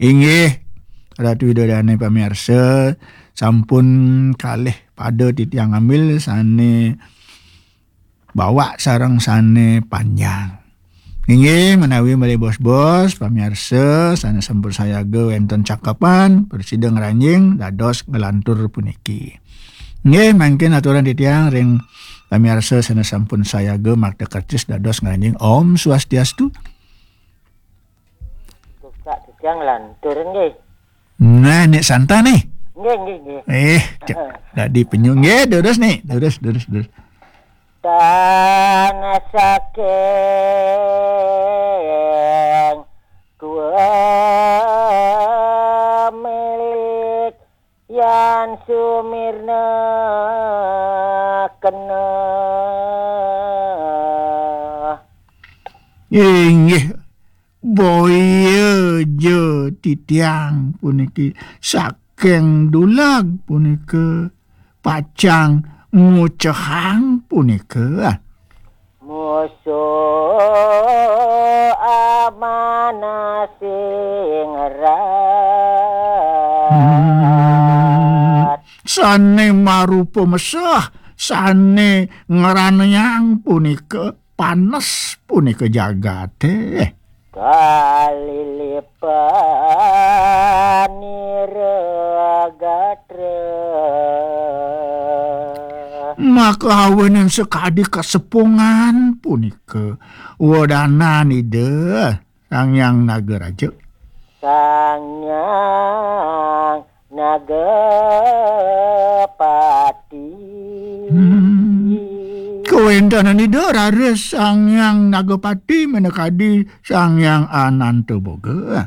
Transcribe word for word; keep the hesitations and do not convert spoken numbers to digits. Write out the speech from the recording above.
Inggih, Ratu Ida Dane pamiarsa, sampun kalih pada titiang ngambil sane bawak sareng sane panjang. Inggih, menawi malih bos-bos, pamiarsa sane sampun sayaga wenten cakepan, prasida ngranjing dados nglantur puniki. Inggih, mangkin aturan titiang ring pamiarsa sane sampun sayaga makta kercis dados ngranjing. Om Swastiastu. Tukak titiang lantur nggih. Nah, nek santan nih. Nggih, nggih, nggih. Eh, cek. Heeh. Dadi penyu nggih, terus nih, terus, terus, terus. Tan saking dua milik yan sumirna kena. Inggih, boya ja titiang puniki saking dulag punika pacang ngucehang punika. Musuh amanah sing rat. Hmm. Sane marupa mesah, sane ngranayang punika panes punika jagate. Kalilipan nira gatra. Maka awanan sakadi kasepungan punika wedanan Ida Sang Hyang Nagaraja. Sang Hyang Nagapati. Hmm. Kawentenan Ida raris Sang Hyang Nagapati minakadi Sang Hyang Anantaboga.